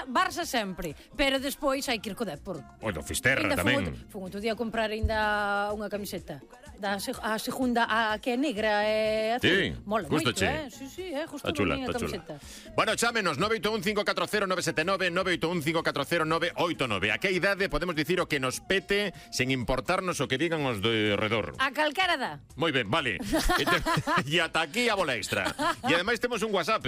Barça sempre, pero despois hai que ir co Depor. O do Fisterra tamén. Fun outro día a comprar ainda unha camiseta a segunda, a que é negra e azul. Sí, mola moito, gustache. Sí, justo Está chula, a está chula. camiseta. Bueno, chámenos 981-540-979, 981-540-989. A que idade podemos dicir o que nos pete sen importarnos o que digan os de redor? A calcara da. Moi ben, vale. E ata aquí a bola extra. E ademais temos un WhatsApp.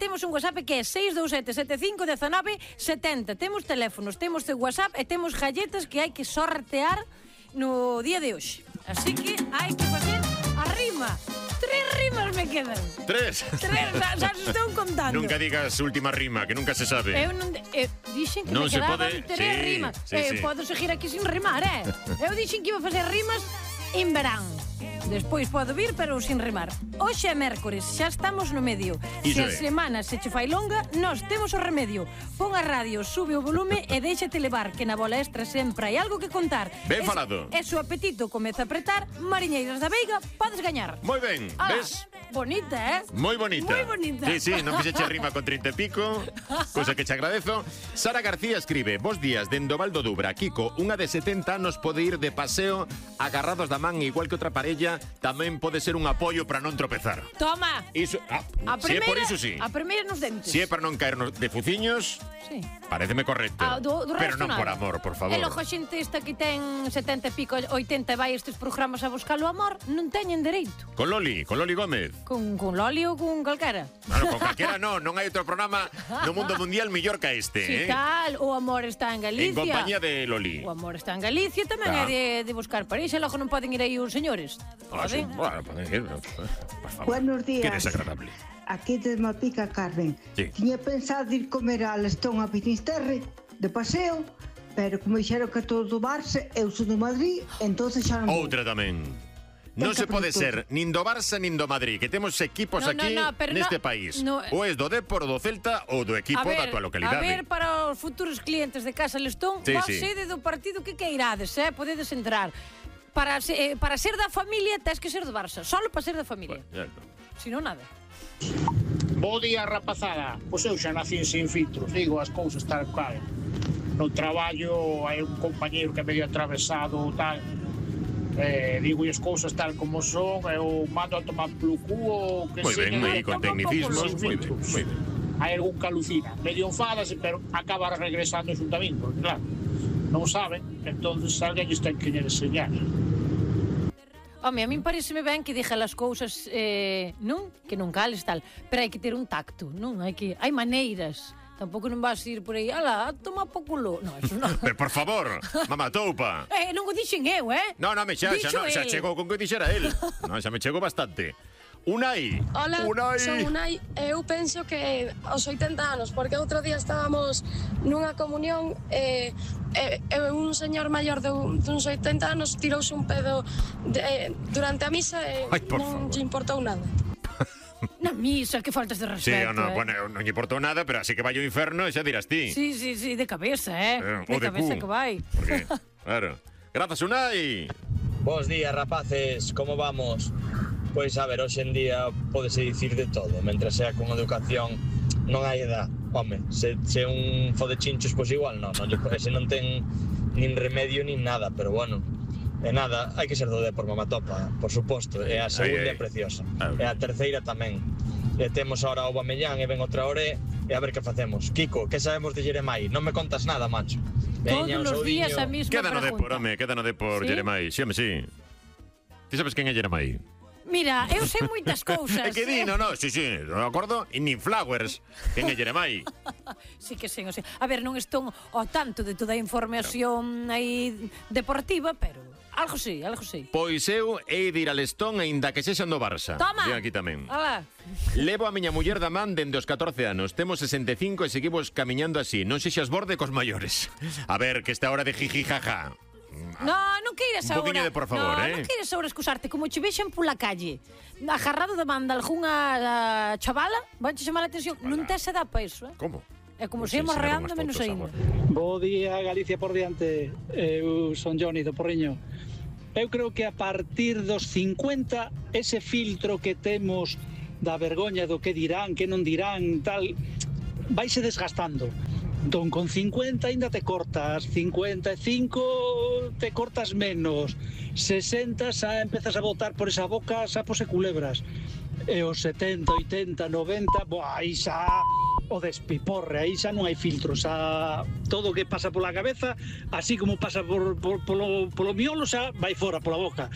Temos un WhatsApp que é 627751970. Temos teléfonos, temos de WhatsApp e temos galletas que hai que sortear no día de hoxe. Así que hai que facer a rima. 3 rimas me quedan. 3? Xa se estou contando. Nunca digas última rima, que nunca se sabe. Eu non... dixen que non me se quedaban pode... 3 rimas. Podo seguir aquí sin rimar, Eu dixen que iba a facer rimas en verán. Despois podo vir, pero sin rimar. Hoxe é mércores, xa estamos no medio. Se a semana se che fai longa, nós temos o remedio. Pon a radio, sube o volume e déixate levar, que na bola extra sempre hai algo que contar. Ben falado. E se o apetito comeza a apretar, Mariñeiras da Veiga, podes gañar. Moi ben, ves? Bonita, Moi bonita. Moi bonita. Sí, non fixeche rima con 30 e pico, cosa que che agradezo. Sara García escribe: Bos días, dendo Val do Dubra. Kiko, unha de 70 anos pode ir de paseo agarrados da man igual que outra parella, tamén pode ser un apoio para non tropezar. Toma. Iso, se é por iso, sí. A primeira nos dentes. Se é para non caernos de fuciños, sí. Pareceme correcto. Pero non por amor, por favor. E logo a xente esta que ten 70 e pico, 80 e vai estes programas a buscar o amor, non teñen dereito. Con Loli Gómez. Con Loli ou con calquera? Claro, con calquera non hai outro programa no mundo mundial mellor que este, Si tal, o amor está en Galicia. En compañía de Loli. O amor está en Galicia, tamén é de buscar parexa, logo non poden ir aí os señores. Poden? Bueno, poden ir, por favor. Buenos días. Que desagradable. Aquí te Malpica, Carmen. Sí. Tiña pensado ir comer a Lestón a Finisterre de paseo, pero como dixeron que todo do Barça, eu sou do Madrid, entonces xa non vou. Outra tamén. Non se pode ser nin do Barça nin do Madrid, que temos equipos aquí neste país. Ou es do Depor, ou do Celta, ou do equipo da tua localidade. A ver, para os futuros clientes de Casa Lestón, vos sede do partido que queirades, podedes entrar. Para ser da familia, tens que ser do Barça. Solo para ser da familia. Si non, nada. Bo día, rapazada. Pois eu xa nací sin filtros, digo as cousas tal cual. No traballo hai un compañeiro que é medio atravesado tal. Digo as cousas tal como son, eu mando a tomar polo cuo, que moi ben, aí con tecnicismos, moi ben. Hai algún que alucina, medio enfadase, pero acaba regresando ao xuntamento, porque claro, non saben, entonces alguén lles ten que enseñar. Home, a min pareceme ben que dixa as cousas, non? Que non cales tal, pero hai que ter un tacto, non? Hai maneiras. Tampouco non vas ir por aí, ala, toma po culo. Non, eso non. Pero por favor, mamá toupa. Non o dixen eu, Non, xa chegou con que dixera el. Non, xa me chegou bastante. Unai. Hola, son Unai. Eu penso que aos 80 anos, porque outro día estábamos nunha comunión e un señor maior duns 80 anos tirouse un pedo durante a misa e non lle importou nada. Na misa, que faltas de respeto. Bueno, non lle importou nada, pero así que vai ao inferno e xa dirás ti. Sí, de cabeza, de cabeza que vai. Porque, claro. Grazas, Unai. Bos días, rapaces, como vamos? Pois, a ver, hoxe en día pódese dicir de todo, mentre sea con educación non hai edad. Home, se un fode chinchos, pois igual non ese non ten nin remedio nin nada, pero bueno. E nada, hai que ser do Depor, mamatopa, por suposto, e a segunda é preciosa, e a terceira tamén. E temos ahora o Aubameyang e ven outra hora e a ver que facemos. Kiko, que sabemos de Jeremai? Non me contas nada, macho. Todos os días a mesma pregunta. Queda no Depor, Jeremai, sí. Ti sabes quen é Jeremai? Mira, eu sei moitas cousas. É que di, non, sí, non acordo, e nin Flowers, quen é Jeremai. Sí que sei, a ver, non estou ao tanto de toda a información aí deportiva, pero algo sei. Pois eu hei de ir a Lestón aínda que sexan do Barça. Toma! Ven aquí tamén. Alá. Levo a miña muller da man dende os 14 anos. Temos 65 e seguimos camiñando así. Non sexas borde cos maiores. A ver, que esta hora de jiji jaja. Non queiras agora. Un poquinho de por favor, Non queiras agora excusarte. Como che vexen pola calle agarrado da man de algunha chavala, vanche chamar a atención. Non tes edad para iso, Como? É como se íamos reando menos ainda. Bo día, Galicia por diante. Eu son Johnny do Porriño. Eu creo que a partir dos 50 ese filtro que temos da vergoña do que dirán, que non dirán, tal, vaise desgastando. Entón, con 50 ainda te cortas, 55 te cortas menos, 60 xa empezas a botar por esa boca sapos e culebras. E os 70, 80, 90, aí xa o despiporre, aí xa non hai filtro, xa todo o que pasa pola cabeza, así como pasa polo miolo, xa vai fora pola boca.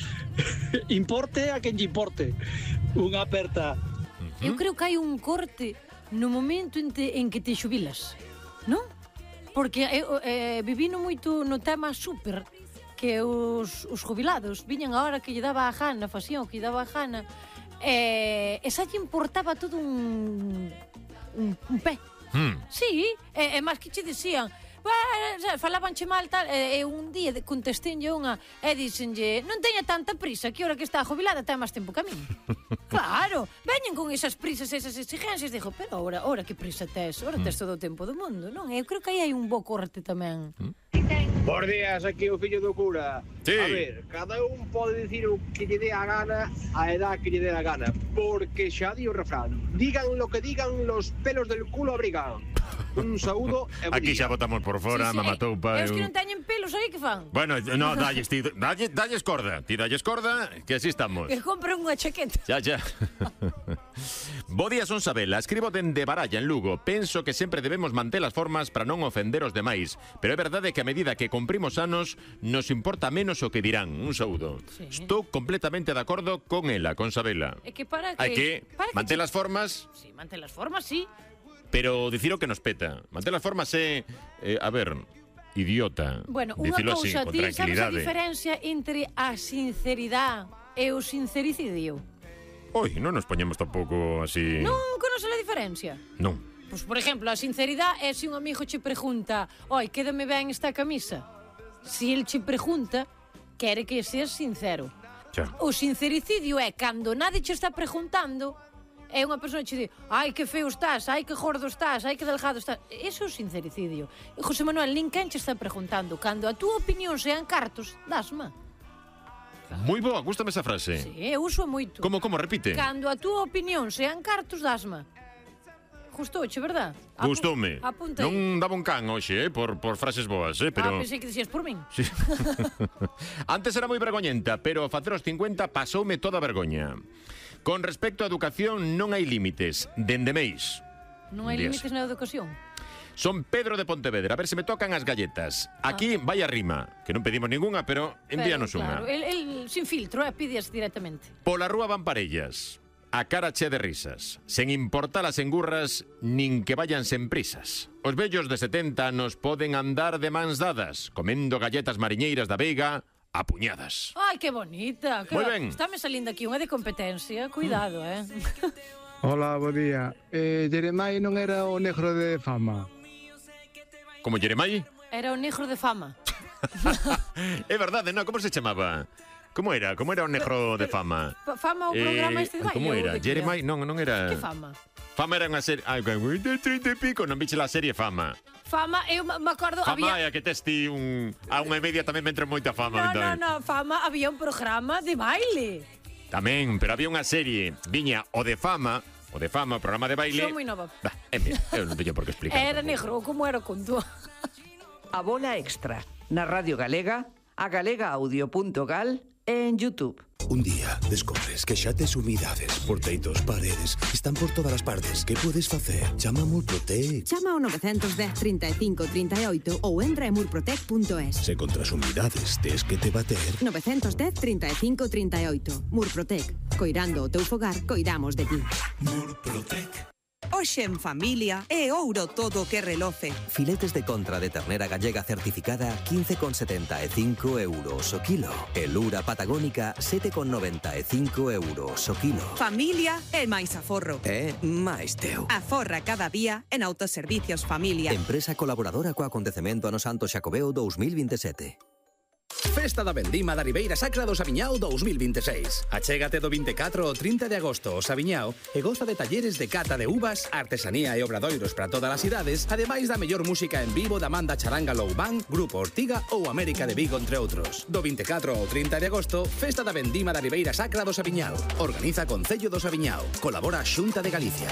Importe a quen lle importe. Unha aperta. Eu creo que hai un corte no momento en que te xubilas, non? Porque vivino moito no tema súper, que os jubilados viñan a hora que lle daba a gana, facían o que lle daba a gana, e xa lle importaba todo un pé. Sí, e máis que che dicían, falabanche mal tal, e un día contestenlle unha e díxenlle, non teña tanta prisa, que hora que está jubilada ten máis tempo que a min. Claro, veñen con esas prisas, esas exigencias, dixo, pero ahora que prisa tes? Ahora tes todo o tempo do mundo, non? Eu creo que aí hai un bo corte tamén. Bos días, aquí o fillo do cura. Sí. A ver, cada un pode dicir o que lle dé a gana a edad que lle dé a gana, porque xa di o refrán, digan lo que digan, los pelos del culo abrigan. Un saúdo e bo Aquí día. xa botamos por fora, mamatoupa. E os que non teñen pelos aí, que fan? Bueno, no, dalles corda. Ti dalles corda, que así estamos. Que compren unha chaqueta. Xa. Bo día, son Sabela. Escribo dende Baralla, en Lugo. Penso que sempre debemos manter as formas para non ofender os demais. Pero é verdade que a medida que cumprimos anos, nos importa menos o que dirán. Un saúdo. Sí. Estou completamente de acordo con ela, con Sabela. É que para que... Hai que manter as formas, Sí, manter as formas, sí. pero dicir o que nos peta. Manter as formas é, a ver, idiota. Bueno, unha Dicilo así, cousa, con ti sabes a tranquilidade. diferencia entre a sinceridade e o sincericidio? Oi, non nos poñemos tampouco así... Non conoces a diferencia? Non. Pois, por exemplo, a sinceridade é se un amigo che pregunta, oi, quédame ben esta camisa. Se el che pregunta, quere que seas sincero. Xa. O sincericidio é cando nadie che está preguntando, é unha persona che di, ai, que feo estás, ai, que gordo estás, ai, que delgado estás. Eso é o sincericidio. E José Manuel, nin quen che está preguntando. Cando a túa opinión sean cartos, dasma. Moi boa, gústame esa frase. Sí, eu uso moito. Como, repite? Cando a túa opinión sean cartos, dasma. Gustouche, verdad? Gustoume. Apunta aí. Non daba un can hoxe, por frases boas, pero... Pensei que dixías por min. Sí. Antes era moi vergoñenta, pero a facer os 50 pasoume toda a vergoña. Con respecto á educación, non hai límites, dende meis. Non hai Días. límites na educación. Son Pedro de Pontevedra, a ver se me tocan as galletas. Aquí vai a rima, que non pedimos ningunha, pero envíanos Claro, unha. el sin filtro, pídeas directamente. Pola rúa van parellas, a cara che de risas, sen importar as engurras, nin que vayan sen prisas. Os vellos de 70 anos poden andar de mans dadas, comendo galletas mariñeiras da Veiga a puñadas. Ai, que bonita. Moi ben. Estáme salindo aquí unha de competencia. Cuidado, Hola, bo día. Jeremai non era o negro de fama? Como Jeremai? Era o negro de fama. É verdade, non? Como se chamaba? Como era o negro de fama? Fama o programa este de baile? Como ou era? de que Jeremai, non era... Que fama? Fama era unha serie... Ai, de 30 e pico, non viche la serie Fama. Fama, eu me acordo, Fama había... é a que testi a unha e media tamén me entra moita fama. No, Fama, había un programa de baile. Tamén, pero había unha serie, viña o de Fama, o programa de baile. Son moi nova. Mira, eu non teño por que explicar. Era negro, como era con tú? A bola extra, na Radio Galega, a galegaaudio.gal e en YouTube. Un día descobres que xa tes humidades, porteitos, paredes, están por todas as partes. Que podes facer? Chama a Murprotec. Chama ao 910 35 38 ou entra en murprotec.es. Se contra as humidades tes que te bater. 910 35 38. Murprotec. Coirando o teu fogar, coidamos de ti. Murprotec. Hoxe en familia é ouro todo o que reloce. Filetes de contra de ternera gallega certificada 15,75 euros o kilo. E lura patagónica 7,95 euros o kilo. Familia é máis aforro. É máis teu. Aforra cada día en Autoservicios Familia. Empresa colaboradora co acontecemento Ano Santo Xacobeo 2027. Festa da Vendima da Ribeira Sacra do Sabiñao 2026. Achégate do 24 ao 30 de agosto ao Sabiñao e goza de talleres de cata de uvas, artesanía e obradoiros para todas as idades, ademais da mellor música en vivo da Manda Charanga Low Band, Grupo Ortiga ou América de Vigo, entre outros. Do 24 ao 30 de agosto, Festa da Vendima da Ribeira Sacra do Sabiñao. Organiza Concello do Sabiñao. Colabora a Xunta de Galicia.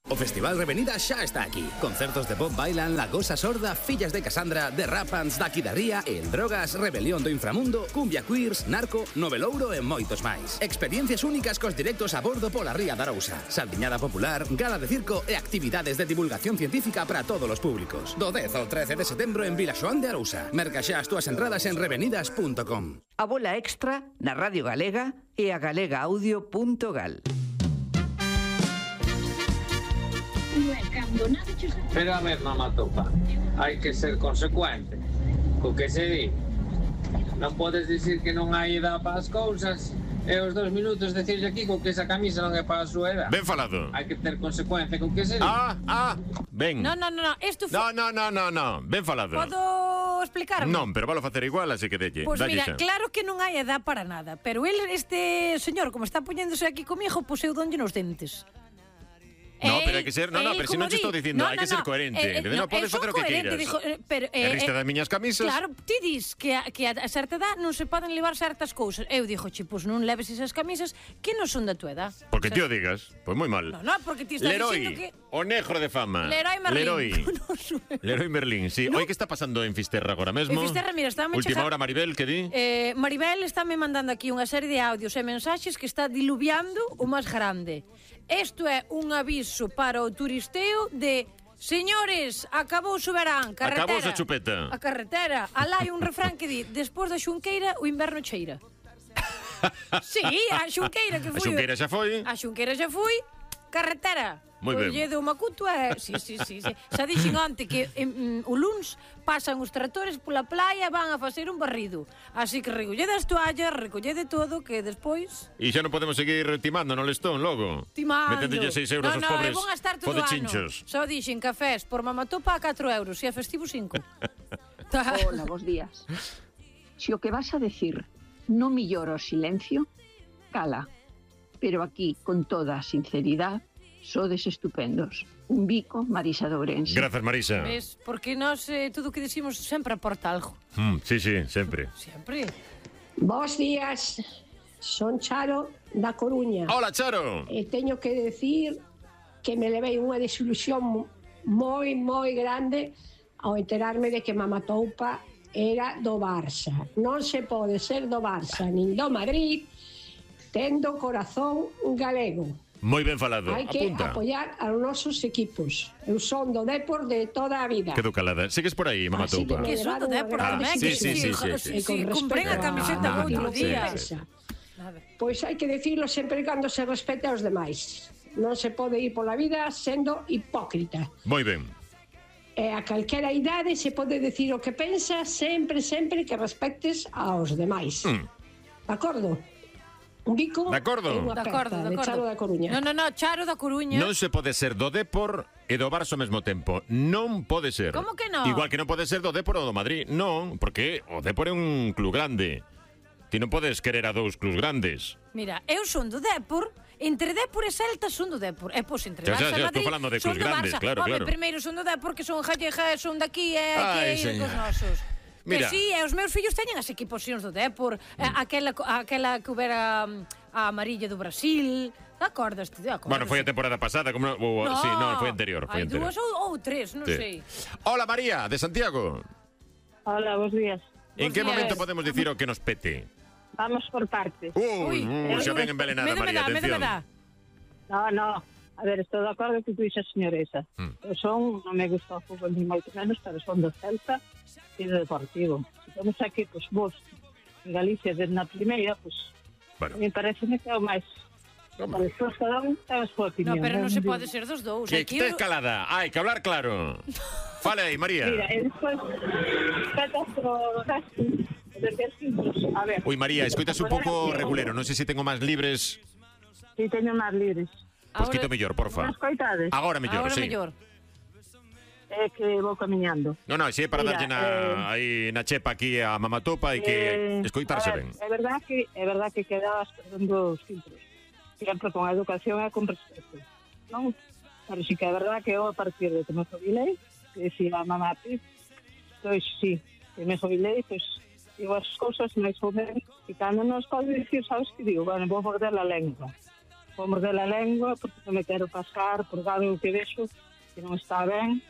O Festival Revenida xa está aquí. Concertos de Bob Dylan, La Gosa Sorda, Fillas de Cassandra, The Rapans, Daqui da Ría, El Drogas, Rebelión do Inframundo, Cumbia Queers, Narco, Novelouro e moitos máis. Experiencias únicas cos directos a bordo pola Ría da Arousa. Saldiñada popular, gala de circo e actividades de divulgación científica para todos os públicos. Do 10 ao 13 de setembro en Vilaxoán de Arousa. Merca xa as túas entradas en revenidas.com. A bola extra na Radio Galega e a galegaaudio.gal. Pero a ver, mamá topa, hai que ser consecuente co que se di. Non podes dicir que non hai edad para as cousas e os 2 minutos decirlle aquí co que esa camisa non é para a súa edad. Ben falado. Hai que ter consecuencia co que se di. Ben. No, isto foi... No, ben falado. Podo explicarme? Non, pero valo facer igual, así que delle. Pois mira, claro que non hai edad para nada, pero este señor, como está poñéndose aquí comigo, pois eu donlle nos dentes. No, pero hai que ser, pero se non te estou dicindo, hai que ser coherente. Non podes facer o que queiras. Riste das miñas camisas. Claro, ti dis que a certa edad non se poden levar certas cousas. Eu dixo, pois non leves esas camisas que non son da tua edad. Porque ti o digas, pois moi mal. No, porque ti estás dicindo que... o negro de fama. Leroy Merlín, sí. Oi, que está pasando en Fisterra agora mesmo? En Fisterra, mira, estáme Última hora, Maribel, que di? Maribel estáme mandando aquí unha serie de audios e mensaxes que está diluviando o máis grande. Isto é un aviso para o turisteo de señores, acabouse o verán, carretera. Acabouse a chupeta. A carretera. Alá hai un refrán que di, despois da xunqueira, o inverno cheira. Sí, a xunqueira que foi. A xunqueira xa foi. A xunqueira xa foi, carretera. Moi ben. O lle do Macuto é... Sí. Xa dixen onte que o luns pasan os tractores pola playa, van a facer un barrido. Así que recollede as toallas, recollede todo, que despois... E xa non podemos seguir timando no lestón, logo. Timando. Metendelle 6 euros aos pobres fodechinchos. Só dixen cafés por mamatopa a 4 euros, e a festivo 5. Hola, bos días. Se o que vas a decir non millora o silencio, cala. Pero aquí, con toda a sinceridade, sodes estupendos. Un bico, Marisa de Ourense. Gracias, Marisa. Ves, porque nós todo o que decimos sempre aporta algo. Sí, sempre. Sempre. Bos días, son Charo da Coruña. Hola, Charo. E teño que decir que me levei unha desilusión moi grande ao enterarme de que Mamatoupa era do Barça. Non se pode ser do Barça nin do Madrid tendo corazón galego. Moi ben falado. Hai que apoiar aos nosos equipos. Eu son do Depor de toda a vida. Quedo calada. Sigues por aí, Mamatoupa? Que son do Depor tamén. Sí. Comprei a camiseta outro día. Pois hai que dicirlo sempre cando se respete aos demais. Non se pode ir pola vida sendo hipócrita. Moi ben. E a calquera idade se pode decir o que pensa sempre que respectes aos demais. De acordo? Un bico de acordo. E unha aperta de Charo da Coruña. No, Charo da Coruña. Non se pode ser do Depor e do Barça ao mesmo tempo. Non pode ser. Como que non? Igual que non pode ser do Depor ou do Madrid. Non, porque o Depor é un club grande. Ti non podes querer a dous clubs grandes. Mira, eu son do Depor. Entre Depor e Celta son do Depor. E pois entre Barça e Madrid estou falando de clubs grandes, claro. Primeiro son do Depor, que son gallega, son daqui e hai que ir cos nosos. Mira. Que sí, e os meus fillos teñen as equipacións do Depor, aquela que houbera a amarilla do Brasil. Acordaste? Bueno, foi a temporada pasada, como sí, non, foi anterior, Hai dúas ou tres, non sei. Hola, María, de Santiago. Hola, bos días. En que momento podemos dicir o que nos pete? Vamos por partes. Xa ven envenenada, María, atención. No. A ver, estou de acordo que tú dixas, señoresa. Eu non me gusta o fútbol ni moito menos, pero son do Celta e do Deportivo. Se temos aquí, pois, vos, en Galicia, desde na primeira, pois, me parece que é o máis. Despois cada un ten a súa opinión. No, pero non se pode ser dos dous. Que estés calada, hai que hablar claro. Fale aí, María. Mira, e despois, petas o resto, a ver. Ui, María, escoitas un pouco regulero, non sei se tengo máis libres. Si, teño máis libres. Pois quito mellor, porfa. Agora mellor, sí. É que vou camiñando. Non, se é para darlle aí na chepa aquí a Mamatopa e que escoitarse ben. É verdad que quedas perdendo os filtros. Sempre con a educación e con respeto. Non? Pero sí que é verdad que eu a partir de que me jubilei, que si a mamá pois sí, que me jubilei, pois digo as cousas máis ou menos, e cando non os podo dicir, sabes que digo? Bueno, vou morder a lengua. vou morder a lengua porque non me quero pascar por algo que vexo que non está ben